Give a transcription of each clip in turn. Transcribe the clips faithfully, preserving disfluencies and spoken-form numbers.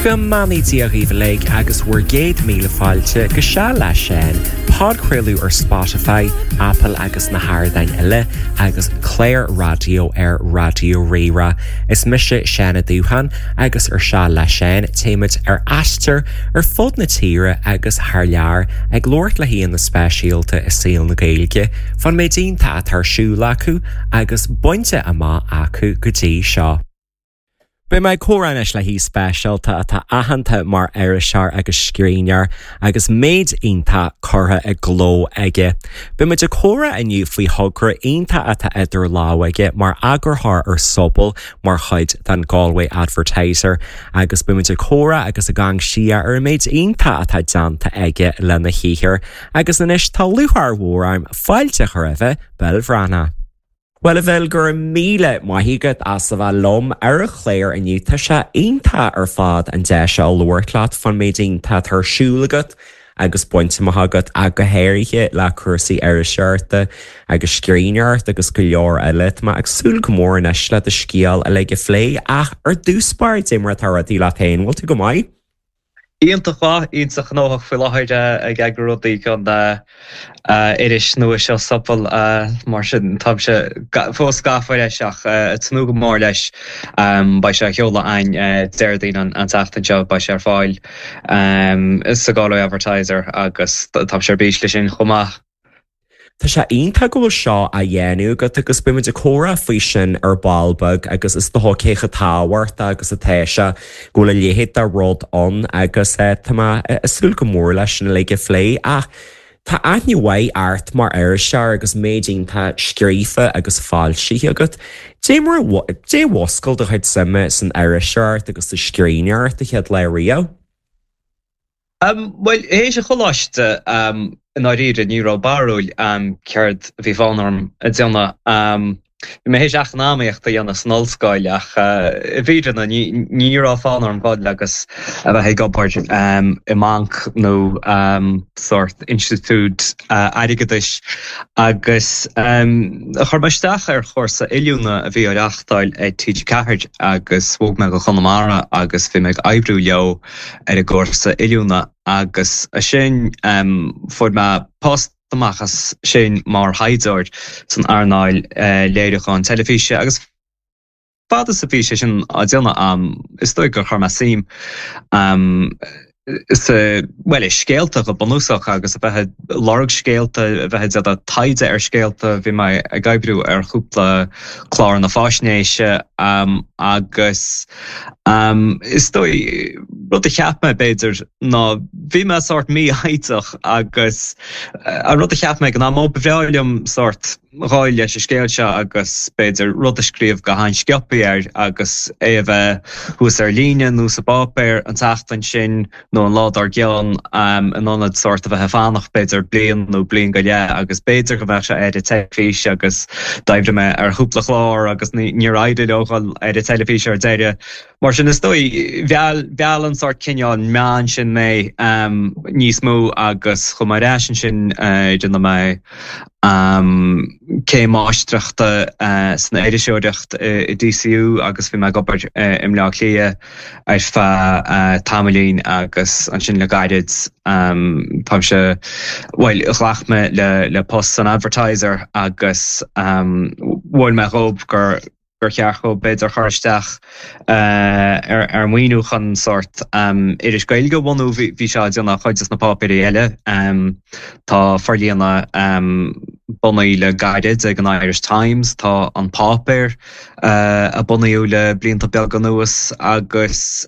Go mbeannaí Dia dhaoibh uilig agus bhur gcéad míle fáilte go Seal le Seán, podchraoladh ar Spotify, Apple agus na hardáin eile agus clár raidió ar Raidió Rí-Rá. Is mise Seán Ó Dúcháin agus ar Seal le Seán téimid ar aistear ar fud na tíre agus thar lear ag labhairt le haíonna speisialta i saol na Gaeilge, fán méid iontach atá ar siúl acu agus bainte amach acu go dtí seo. Beidh mé ag comhrá anois le haoi speisialta atá aitheanta mar iriseoir agus scríbhneoir agus méid iontach curtha i gcló aige. Beimid ag comhrá inniu faoi thogra iontach atá idir lámha aige mar eagarthóir ar Sobal mar chuid den Galway Advertiser, agus beimid ag comhrá agus ag amharc siar ar an méid iontach atá déanta aige lena shaothar, agus anois tá lúcháir mhór orm fáilte a chur roimh Bill Bhreathnach. Well a Bhill go raibh míle maith agat as a bheith liom ar an chlár inniu tá sé iontach ar fad an deis seo labhairt leat fán méid iontach atá ar siúl agat agus bainte amach agat ach go háirithe le cúrsaí iriseoireachta agus scríbhneoireachta agus go leor eile. Tá mé ag súil go mór anois le do scéal uilig a phlé ach ar dtús báire cad é mar atá rudaí leat féin, bhfuil tú go maith? Iontach mhaith, iontach gnóthach faoi láthair ag eagrú rudaí don iris nua seo Sobal mar sin táimse fós gafa leis ach ag tnúth go mór leis. Beidh sé á sheoladh againn Déardaoin an tseachtain seo, beidh sé ar fáil sa Galway Advertiser agus táimse ar bís leis sin chomh maith. Tá sé iontach go bhfuil seo á dhéanamh agat agus beimid ag comhrá faoi sin ar ball beag agus is dócha cé chomh tábhachtach agus atá sé go bhfuil a leithéid de rud ann agus tá mé ag súil go mór leis sin uilig a phlé ach tá aithne mhaith ort mar iriseoir agus méid iontach scríofa agus foilsithe agat. Dé mar dé mhuscail do chuid suime san iriseoireacht agus sa scríbhneoireacht an chéad lá riamh? Bhuel, théis an choláiste i ndáiríre ní raibh barúil céard a bhí fonn orm a dhéanamh. Bhí mé théis eacnamaíocht a dhéanamh san ollscoil ach i bhfírinne ní raibh fonn orm dul agus a bheith ag obair i mbanc nó sórt institiúid airgeadais agus chuir mé isteach ar chúrsa oiliúna a bhí á reáchtáil ag TG Ceathair agus bhog mé go Conamara agus bhí mé ag oibriú leo ar an gcúrsa oiliúna agus ansin fuair mé post amach as sin mar thaighdeoir san earnáil léiriúcháin teilifíse agus fad is a bhí sé sin á déanamh agam is dóigh gur chuir mé suim sa bhuel i scéalta go bunúsach agus a bheith ag lorg scéalta, a bheith ag déanamh taighde ar scéalta, bhí mé ag oibriú ar chúpla cláranna faisnéise agus is dóigh rud a cheap mé b'fhéidir ná bhí mé sórt mífhoighdeach agus an rud a cheap mé ag an am ó ba bhreá liom sórt ghabháil leis an scéal seo agus b'fhéidir rud a scríobh go han-sciobtha air agus é a bheith thuas ar líne nó sa bpáipéar an tseachtain sin nó an lá dár gcionn in ionad sórt a bheith ag fanacht b'fhéidir bliain nó bliain go leith agus b'fhéidir go mbeadh sé ar an teilifís agus d'oibrigh mé ar chúpla clár agus níor éirigh leo dhul ar an teilifís ar deireadh. Mar sin is dóigh mheall mheall an sórt cineál meán sin mé níos mó agus chuaigh mé ar ais ansin rinne mé céim máistreachta san iriseoireacht i DCU agus bhí mé ag obair i mBleá Cliath ar feadh tamaillín agus ansin le gairid táimse bhuel ghlac mé le le post san Advertiser agus mhol mé dhóibh gur gur cheart dhóibh b'fhéidir chur isteach ar ar maoiniú chun sórt iris Gaeilge a bhunú bhí sé á déanamh ag cuid de na páipéirí eile. Tá forlíonadh bunaithe le gairid ag an Irish Times, tá an páipéar a bunaíodh le blianta beaga anuas agus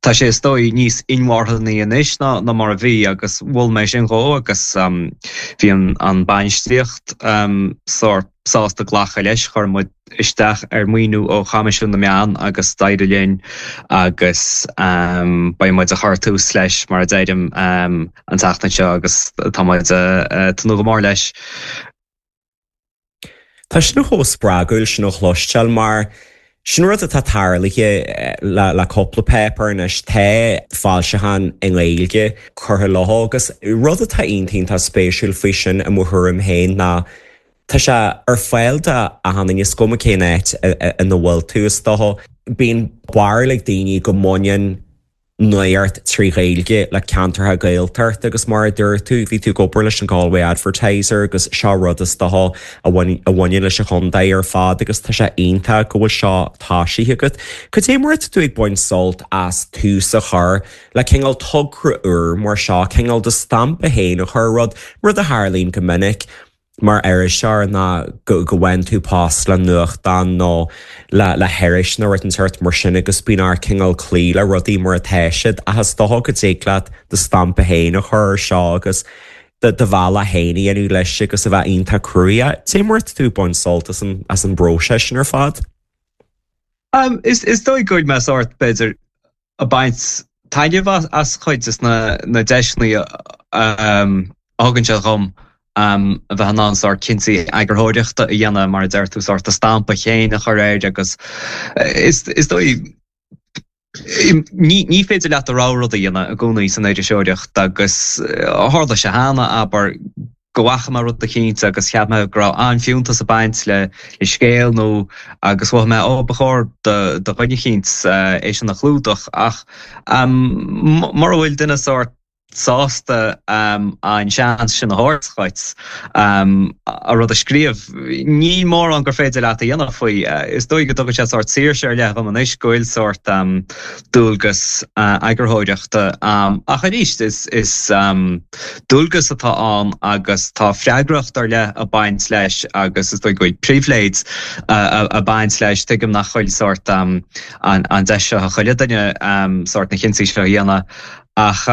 tá sé is dóigh níos inmharthanaí anois ná ná mar a bhí agus mhol mé sin dhó agus bhí an an bainistíocht sórt sásta glacadh leis chuir muid isteach ar maoiniú ó Choimisiún na Meán agus d'éirigh linn agus beidh muid ag cur tús leis mar a deirim an tseachtain seo agus tá muid ag tnúth go mór leis. Tá sin chomh spreagúil sin a chloisteáil mar sin rud atá tarlaithe le le cúpla páipéar anois tá foilseachán i nGaeilge curtha leo agus rud atá iontach spéisiúil faoi sin i mo thuairim féin ná tá sé ar fáil do achan duine is cuma cén áit ina bhfuil tú is dócha. Bíonn barúil ag daoine go mbaineann Nuacht trí Ghaeilge le ceantartha Gaeltachta agus mar a dúirt tú bhí tú ag obair leis an Galway Advertiser agus seo rud is dócha a bhaineann leis an chontae ar fad agus tá sé iontach go bhfuil seo tosaithe agat. Cad é mar atá tú ag baint sult as tús a chur le cineál togra úr mar seo cineál do stampa féin a chur rud rud a tharlaíonn go minic mar iriseoir ná go go bhfaigheann tú post le nuachtán nó le le hiris nó rud den sórt mar sin agus bíonn ort cineál cloí le rudaí mar atá siad ach is dócha go dtig leat do stampa féin a chur ar seo agus do do bhealach féin a dhéanamh leis agus a bheith iontach cruthaitheach. Cad é mar atá tú ag baint sult as an as an bpróiseas sin ar fad? Um, is is dóigh go bhfuil mé sórt b'fhéidir ag baint taitneamh as as chuid des na na deiseanna um, a thugann sé dhom um, a bheith in ann sórt cinntí eagarthóireachta a dhéanamh mar a deir tú sórt do stampa féin a chur air agus is is dóigh ní ní féidir leat do rogha rud a dhéanamh i gcónaí san iriseoireacht agus tharla sé cheana abair go bhfaca mé rud eicínt agus cheap mé go raibh an-fhiúntas ag baint le le scéal nó agus mhothaigh mé ó ba chóir do do dhuine eicínt é sin a chlúdach ach um, mura bhfuil duine sórt sásta an seans sin a thabhairt dhuit a rud a scríobh. Ní mórán gur féidir leat a dhéanamh faoi. Is dóigh go dtugann sé sórt saoirse ar leith dhom anois go bhfuil sórt dualgas eagarthóireachta ach arís is is dualgas atá ann agus tá freagracht ar leith ag baint leis agus is dóigh go bhfuil pribhléid ag baint leis. Tuigim nach bhfuil sórt an an deis seo ag chuile duine sórt na cinntí seo a dhéanamh. Ach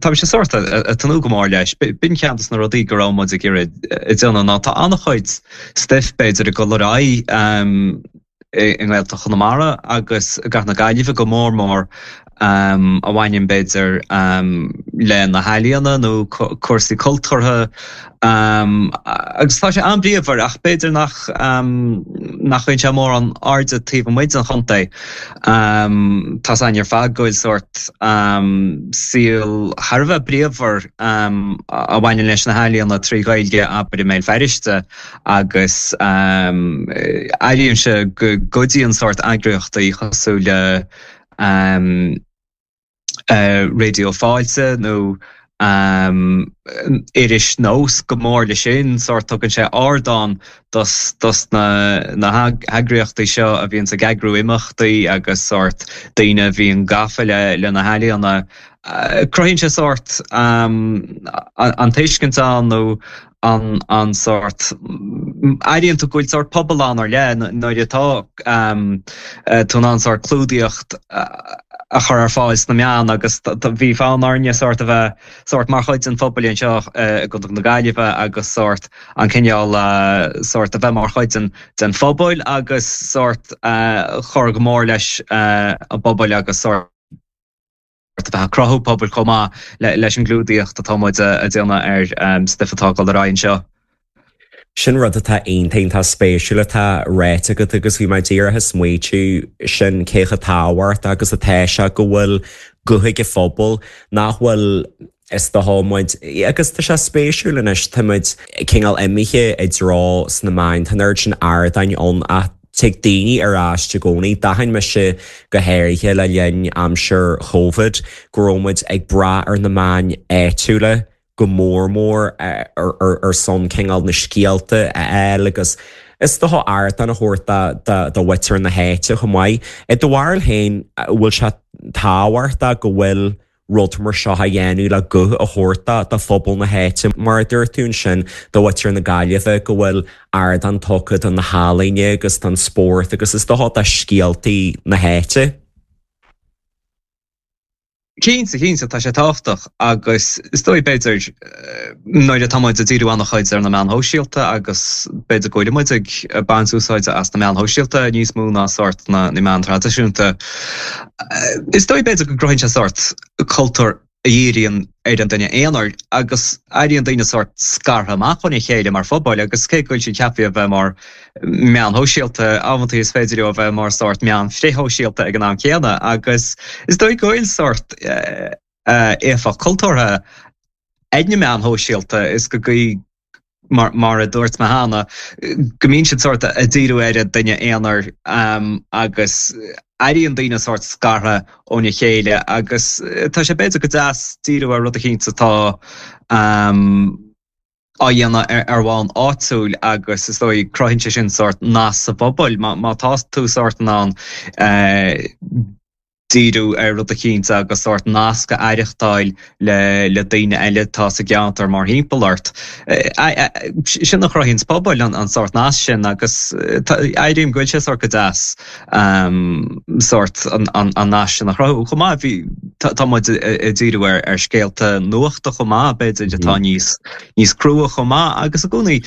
tá sé sórt ag tnúth go mór leis. B'in ceann des na rudaí go raibh muid ag iarraidh a dhéanamh ná tá an-chuid stuif b'fhéidir ag dul ar aghaidh i nGaeltacht Chonamara agus i gCathair na Gaillimhe go mór mór a bhaineann b'fhéidir le na healaíona nó cúrsaí cultúrtha agus tá sé an-bhríomhar ach b'fhéidir nach nach bhfaigheann sé mórán airde taobh amuigh den chontae. Tá a fhios againn ar fad go bhfuil sórt saol thar a bheith bríomhar a bhaineann leis na healaíona trí Ghaeilge abair i mBéal Feirste agus airímse go gcuidíonn sórt eagraíochtaí cosúil le Raidió Fáilte nó iris Nós go mór leis sin, sórt tugann sé ardán dos dos na na heagraíochtaí seo a bhíonns ag eagrú imeachtaí agus sórt daoine a bhíonn gafa le le na healaíona. Cruthaíonn sé sórt an tuiscint ann nó an an sórt airíonn tú go bhfuil sórt pobal ann ar leith nuair atá tú in ann sórt clúdaíocht a chur ar fáil sna meáin agus bhí fonn orainne sórt a bheith sórt mar chuid den phobal anseo i gContae na Gaillimhe agus sórt an cineál sórt a bheith mar chuid den den phobal agus sórt chur go mór leis an bpobal agus sórt a bheith ag cruthú pobail chomh maith leis an gclúdaíocht atá muid a déanamh ar stuif atá ag dul ar aghaidh anseo. Sin rud atá iontach iontach spéisiúil atá ráite agat agus bhí mé díreach ag smaoitiú sin cé chomh tábhachtach agus atá sé go bhfuil guth ag an phobal nach bhfuil is dócha muid agus tá sé spéisiúil anois tá muid cineál imithe i dtreo sna meáin tá an oiread sin ardáin ann ach tig daoine ar ais i gcónaí. D'aithin mise go háirithe le linn aimsir Covid go raibh muid ag brath ar na meáin áitiúla go mór mór ar son cineál na scéalta a fháil agus is dócha ardán a thabhairt do mhuintir na háite chomh maith. I do bharúil féin, bhfuil sé tábhachtach go bhfuil rud mar seo á dhéanamh le guth a thabhairt do phobal na háite, mar a dúirt tú ansin, do mhuintir na Gaillimhe, go bhfuil ardán tugtha do na healaíona agus don spórt agus is dócha do scéaltaí na háite. Cinnte, cinnte, tá sé tábhachtach agus is dóigh b'fhéidir nuair atá muid ag díriú an-chuid ar na meáin shóisialta agus b'fhéidir go bhfuil muid ag baint úsáide as na meáin shóisialta níos mó ná sórt na meáin traidisiúnta. Is dóigh b'fhéidir go gcruthaíonn sé sórt cultúr a dhíríonn ar an duine aonair agus éiríonn daoine sórt scartha amach óna chéile mar phobal agus cé go bhfuil siad ceaptha a bheith mar meáin shóisialta, amantaí is féidir leo a bheith mar sórt meáin frithshóisialta ag an am céanna agus is dóigh go bhfuil sórt éifeacht cultúrtha ag na meáin shóisialta is go gcaoi mar, mar a dúirt mé cheana, go mbíonn siad sórt ag díriú ar an duine aonair agus airíonn daoine sórt scartha óna chéile agus tá sé b'fhéidir go deas díriú ar rud eicínt atá á dhéanamh ar bhonn áitiúil agus is dóigh cruthaíonn sé sin sórt nasc sa bpobal má tá tú sórt in ann díriú ar rud eicínt agus sórt nasc a aireachtáil le le daoine eile atá sa gceantar mórthimpeall ort. Sin a chruthaíonns pobail, an sórt nasc sin agus airím go bhfuil sé sórt go deas sórt an nasc sin a chruthú. Chomh maith bhí tá muid ag díriú ar ar scéalta nuachta chomh maith b'fhéidir atá níos níos crua chomh maith agus i gcónaí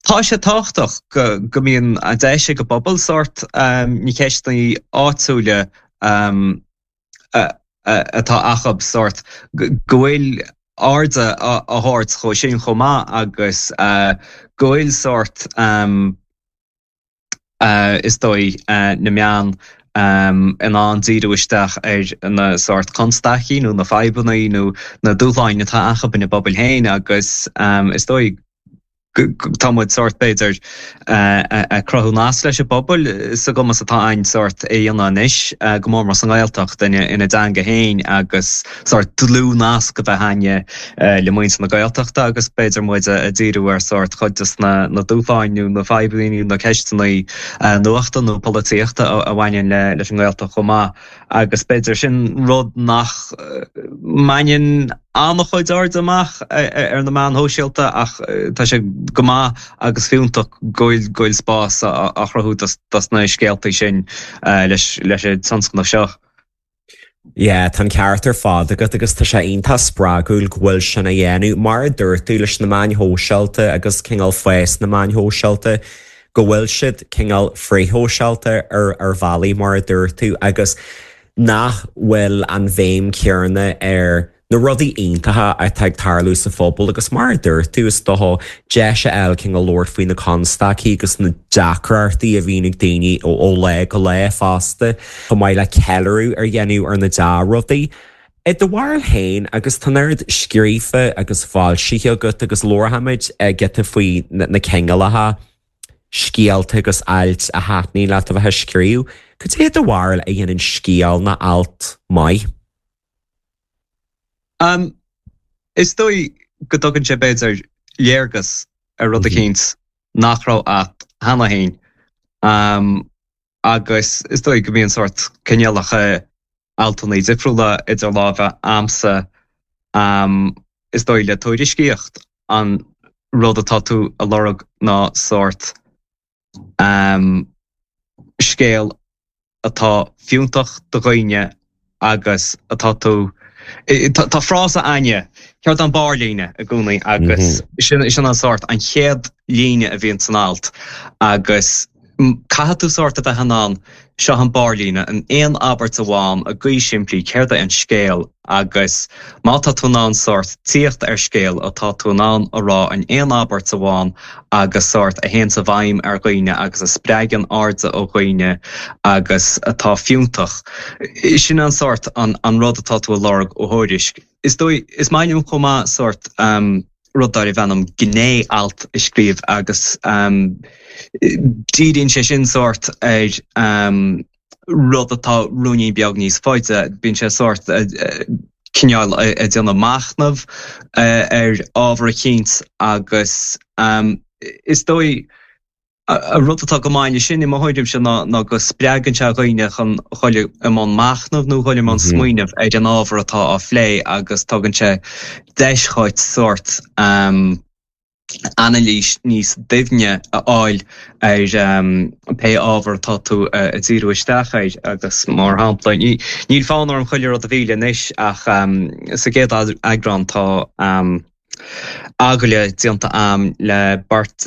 Tá sé tábhachtach go mbíonn an deis ag an bpobal sórt na ceisteanna áitiúla atá acu sórt go bhfuil aird á thabhairt dhó sin chomh maith agus go bhfuil sórt is dóigh na meáin in ann díriú isteach ar na sórt constaicí nó na fadhbanna nó na dúshláin atá acu ina bpobail féin agus is dóigh tá muid sórt, b'fhéidir, ag cruthú nasc leis an bpobal sa gcumas atá againn sórt é a dhéanamh anois, go mór mór sa nGaeltacht, ina dteanga féin agus sórt dlúthnasc a bheith againne le muintir na Gaeltachta agus b'fhéidir muid ag díriú ar sórt chuid de na dúshláin nó na fadhbanna nó na ceisteanna nuachta nó polaitíochta a bhaineann leis an nGaeltacht chomh maith. Agus b'fhéidir sin rud nach mbaineann an-chuid airde amach ar na meáin shóisialta ach tá sé go maith agus fiúntach go bhfuil spás á chruthú dos na scéaltaí sin leis an tionscnamh seo. Yeah, tá an ceart ar fad agat agus tá sé iontach spreagúil go bhfuil sin á dhéanamh, mar a dúirt tú, leis na meáin shóisialta agus cineál fás na meáin shóisialta, go bhfuil siad cineál frithshóisialta ar ar bhealaí, mar a dúirt tú, agus nach bhfuil an bhéim chéanna ar na rudaí iontacha atá ag tarlú sa phobal agus mar a dúirt tú, is dócha, deis a fháil cineál labhairt faoi na constaicí agus na deacrachtaí a bhíonn ag daoine ó lá go lá fosta, chomh maith le ceiliúradh a dhéanamh ar na dea-rudaí. I do bharúil féin, agus tá an oiread scríofa agus foilsithe agat agus labharfaimid giota faoi na cineálacha scéalta agus ailt a thaitníonn leat a bheith ag scríobh, cad é i do bharúil a dhéanann scéal nó alt maith? Um, is dóigh go dtugann sé b'fhéidir léargas ar rud eicínt nach raibh a't cheana féin. Um, agus is dóigh go mbíonn sórt cineálacha altanna difriúla idir lámha a'msa. Um, is dóigh le tuairiscíocht an rud atá tú a lorg ná sórt um, scéal atá fiúntach do dhaoine agus atá tú Tá frása againne, céard an barrlíne i gcónaí agus sin sin an sórt an chéad líne a bhíonn san alt agus caithfidh tú sórt a bheith in ann seo an barrlíne in aon abairt amháin i gcaoi simplí céard é an scéal agus má tá tú in ann sórt tíocht ar scéal atá tú in ann a rá in aon abairt amháin agus sórt a théann i bhfeidhm ar dhaoine agus a spreagann airde ó dhaoine agus atá fiúntach. Sin an sórt an an rud atá tú a lorg ó thuairisc. Is dóigh, is maith liom chomh maith sórt rud darbh ainm gné-alt a scríobh agus díríonn sé sin sórt ar rud atá ruainnín beag níos faide, bíonn sé sórt cineál ag déanamh machnamh ar ábhar eicínt agus is dóigh an rud atá go maith leis sin i mo thuairimse ná go spreagann sé dhaoine chun dhul i mbun machnaimh nó dhul i mbun smaoineamh ar an ábhar atá á phlé agus tugann sé deis dhuit sórt anailís níos doimhne a fháil ar pé ábhar atá tú ag díriú isteach air agus mar shampla, níl fonn orm chuile rud a mhilleadh anois ach sa gcéad eagrán tá agallamh déanta a'm le beirt